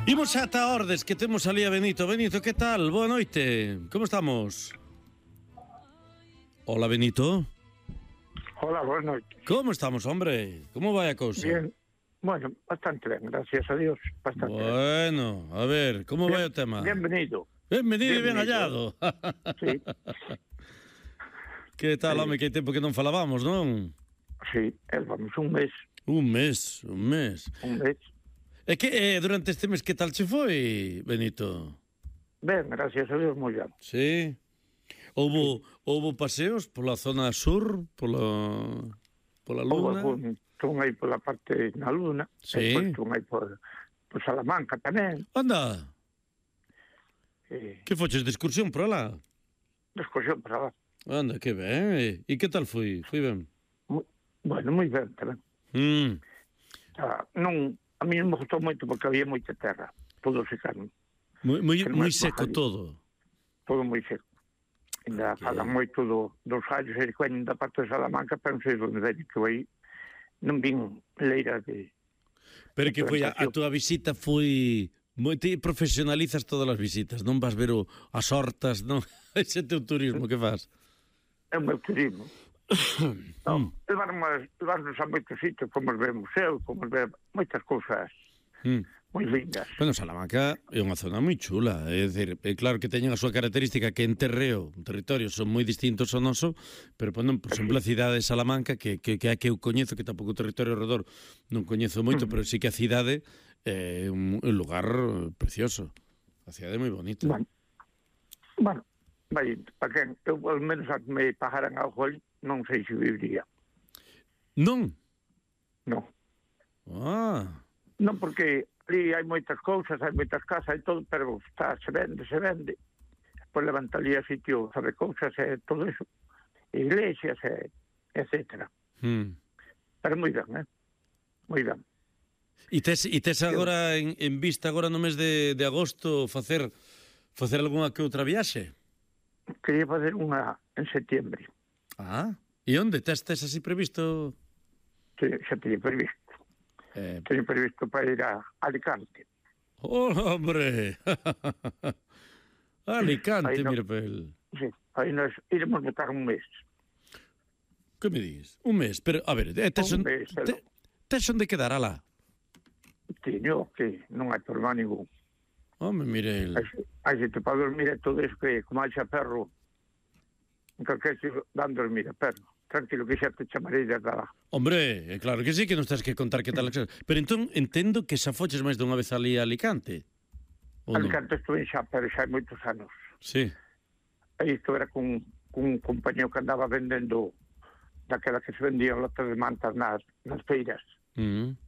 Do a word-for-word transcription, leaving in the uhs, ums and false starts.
Imos ata Ordes, que temos ali a Benito. Benito, que tal? Boa noite. Como estamos? Hola, Benito. Hola, boa noite. Como estamos, hombre? Como vai a cousa? Bien, bueno, bastante ben, gracias a Dios, bastante ben. Bueno, a ver, como Bien, vai o tema? Bienvenido. Benvenido e ben Bienvenido. hallado. Sí, Que tal, Sí. home, que hai tempo que non falábamos, non? sí, eh, vamos, un mes, Un mes, un mes. un mes. E que eh, durante este mes que tal che foi, Benito? Ben, gracias a Dios, moi ben. Sí? Houbo, houbo paseos pola zona sur, pola, pola Houve luna? algún, tun aí pola parte na Luna, Sí. e depois tun aí por, por Salamanca tamén, Anda, e que foches de excursión por alá? de excursión para lá. Anda, que ben. E, e que tal foi? Foi ben? Moi, bueno, moi ben tamén. Mm. Ah, non, a mí non me gustou moito porque había moita terra, todo secano, Moi, moi, Que non moi é seco bajallo. todo. todo moi seco. Ainda Ok. falan moito do, dos gallos e que veñen da parte de Salamanca, pero non sei onde veñen, que eu aí non vin leiras de... Pero que foi a, a túa visita foi moi, ti profesionalizas todas as visitas, non vas ver o, as hortas, non? Ese teu turismo que fas. É o meu turismo. Non, levarnos, levarnos a moitos sitios, fomos ver museos, fomos ver moitas cousas Mm. moi lindas. Bueno, Salamanca é unha zona moi chula, é dicir, é claro que teñen a súa característica que en terreo, en territorio, son moi distintos ao noso, pero ponen, por exemplo, a cidade de Salamanca, que, que, que é a que eu coñezo, que tampouco o territorio ao redor non coñezo moito, pero sí que a cidade é un, un lugar precioso. A cidade é moi bonita. Bueno, bueno, vai, para quen, eu ao menos a que me pagaran algo ali, non sei se viviría. Non? Non. Ah, Non, porque ali hai moitas cousas, hai moitas casas e todo, pero está, se vende, se vende. Pois levanta ali a sitio, sabe, cousas e todo eso. Iglesias e etcétera. hmm. Pero moi ben, eh? Moi ben. E tes, e tes agora en, en vista agora no mes de, de agosto facer facer algunha que outra viaxe? Quería facer unha en setiembre. Ah, e onde? Tes, tes así previsto? Te- Xa teño previsto. Eh, Teño previsto para ir a Alicante. ¡Oh, hombre! Alicante, Aí no- mira pel. Sí, aí nos iremos botar un mes. Que me dis? Un mes, pero, a ver, eh, tes, Un on, mes, te, pero- tes onde quedar alá? Teño que non hai problema ningún. Home, mire el. Hai, hai xente para dormir e todo eso que como hai xa perro en calquer sitio dan dormir a perro. Tranquilo que xa te chamarei desde lá. Hombre, é claro que sí, que non estás que contar que tal. Pero entón, entendo que xa foches máis dunha vez ali a Alicante. Ou non? Alicante estuve xa, pero xa hai moitos anos. Sí. Aí estuve con, con un compañero que andaba vendendo daquela que se vendían lotes de mantas nas, nas feiras. Mm.